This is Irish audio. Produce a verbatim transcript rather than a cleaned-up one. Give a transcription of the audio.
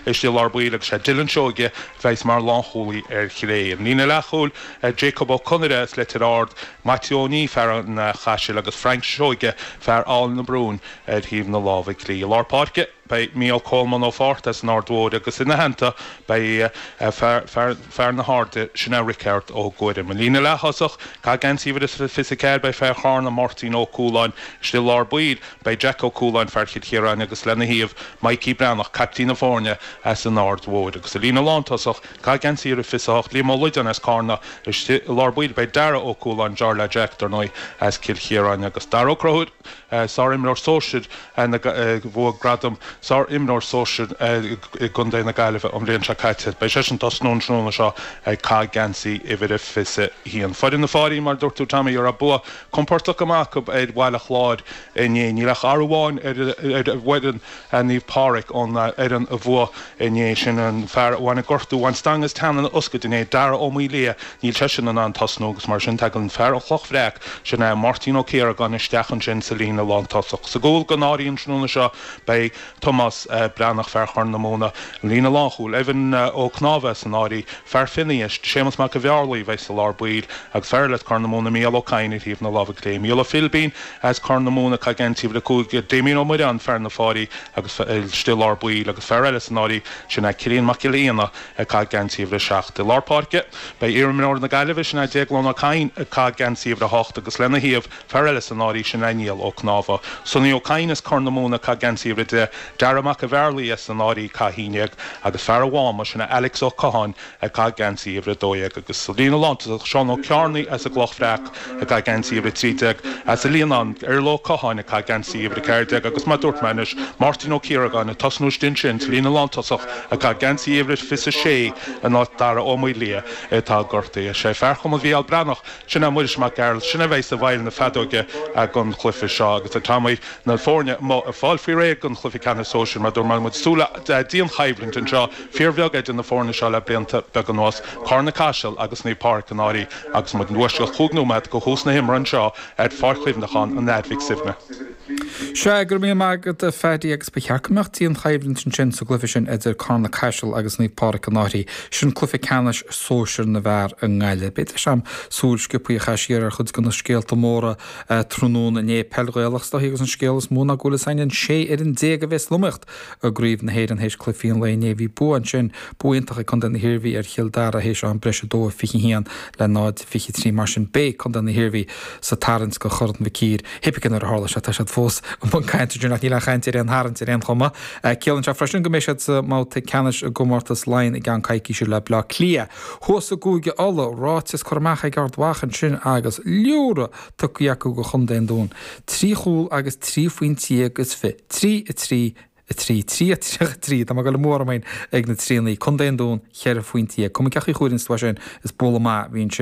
istigh i lár baill agus sé Dylan Seoige a bheas mar lánchúlaí ar chlé. An líne leathchúil, Jacob Ó Conaire as Leitir Ard, Maitiú Ó Ní, fear an Chaisil agus Frank Seoige, fear Aill na Brún ar thaobh na láimhe clí. I lár páirce, beidh Mícheál Coleman Ó Fátharta as an Aird Mhóir agus ina theannta beidh fear na hAirde, sin é Risteárd Ó Guairim. An líne leath-thosach, ag caitheamh geansaí uimhir a fiche a ceathair, beidh fear Charna, Máirtín Ó Cualáin, istigh i lár baill, beidh Jack Ó Cualáin, fear Chill Chiaráin agus lena thaobh, Mikey Breathnach, caiptín na foirne as an Aird Mhóir. Agus sa líne lántosach, ag caitheamh geansaí uimhir a fiche a hocht, Liam Ó Loideáin as Carna, istigh i lár baill, beidh Dara Ó Cualáin, deartháir le Jack, dar ndóigh, as Cill Chiaráin agus Dara Ó Conchúir, sár-imreoir sóisir a bhuaigh gradam sár-imreoir sóisir i gContae na Gaillimhe an bhliain seo caite. Beidh seisean ag tosnú an tráthnóna seo ag caitheamh geansaí uimhir a fiche a haon. Foireann na Fáirí, mar a dúirt tú Tommy, a raibh bua compordach go maith acu ar Bhaile Chláir inné. Níl ach athrú amháin ar fhoireann Naomh Pádraig ón fhoireann a bhuaigh inné, sin an fear a bhain an gortú, bhain stangadh as teann ina fhoscaid inné, Dara Ó Maoildhia. Níl seisean in ann tosnú agus mar sin tagann fear an Chloch Bhreac, sin é Máirtín Ó Ciaragáin, isteach ansin sa líne lántosach. Sa gcúl don Fháirí an tráthnóna seo beidh Tomás Breathnach, fear Chorr na Móna, an líne lánchúil, Evan Ó Cnámha as an Fháirí, fear Fionnaíois, Séamus Mac an Bhearlaí a bheidh sa lár baill agus fear eile as Corr na Móna, Mícheál Ó Cadhain ar thaobh na láimhe clé. Mícheál Ó Philbín as Corr na Móna ag caitheamh geansaí uimhir a cúig, Damien Ó Muireáin, fear na Fáirí agus istigh i lár baill agus fear eile san Fháirí, sin é Cillian Mac Giolla Éanna ag caitheamh geansaí uimhir a seacht. I lár páirce beidh iarimreoir na Gaillimhe, sin é Déaglán Ó Cadhain ag caitheamh geansaí uimhir a hocht agus lena thaobh, fear eile san Fháirí, sin é Niall Ó Cnámha. Sonny Ó Cadhain as Corr na Móna ag caitheamh geansaí uimhir a deich, Dara Mac an Bhearlaí as an Fháirí ag caitheamh a haon déag agus fear an Mháma, sin é Alex Ó Catháin ag caitheamh geansaí uimhir a dó dhéag agus sa líne lántosach, Seán Ó Cearnaigh as an gCloch Bhreac ag caitheamh geansaí uimhir a trí déag, as an Líonán, Iarla Ó Catháin ag caitheamh geansaí uimhir a ceathair déag agus mar a dúirt mé anois, Máirtín Ó Ciaragáin ag tosnú istigh ansin sa líne lántosach ag caitheamh geansaí uimhir a fiche a sé in áit Dara Ó Maoildhia atá gortaithe. Sé fear Chumann Mhícheál Breathnach, sin é Muiris Mac Gearailt, sin a bheidh i bhfeighil na feadóige don chluiche seo agus tá na foirne amuigh ag fáil faoi réir don chluiche ceannais sóisir mar dúirt mé muid ag súil le dianchoimhlint anseo, fíorbheag idir na foirne seo le blianta beaga anuas, Carna Caiseal agus Naomh Pádraig an Fháirí agus muid i bhfoisceacht chúig nóiméad go thús na himeartha anseo ar Pháirc Chuimhneacháin an Athar Mhic Suibhne. Sea, go raibh míle maith agat a Phaddy agus ba cheart go mbeadh dianchoimhlint ansin sa gcluiche sin idir Carna Caiseal agus Naomh Pádraig an Fháirí. Sin cluiche ceannais sóisir na bhfear i nGaillimh. Beidh deis agam súil sciobtha a chaitheamh siar ar chuid de na scéalta móra tráthnóna inné. Peil Ghaelach is dóichí agus an scéal is mó ná go bhfuil fhios againn an sé fhoireann déag a bheas san iomaíocht i gCraobh na hÉireann théis cluichí an lae inné. Bhí bua ansin, bua iontach ag Contae na hIarmhí ar Chill Dara théis am breise a dó a fiche haon le náid fiche trí. Mar sin beidh Contae na hIarmhí sa tarraingt do Chorn Mhic Uidhir. Pé ar bith nuair a tharla sé, tá siad fós i mbun cainte ansin ach níl aon chaint ar aon tharraingt ar aon chuma. Ciallaíonn sé freisin go mbeidh siad sa mbabhta ceannais i gcomórtas Laighean i gceann coicíse le Bleá Cliath. Thuas i gCúige Uladh, ráiteas curtha amach ag Ard Mhacha ansin agus liúradh tugtha acu do chontae an Dúin. Trí chúl agus trí phointe déag is fiche. Trí, a trí, a trí, trí, a tríocha trí. Tá mé ag dul amú orm féin ag na tríonnaí. Contae an Dúin, cheithre phointe déag. Cuma cén chaoi a gcuireann tú é sin, is bualadh maith a bhí ansin.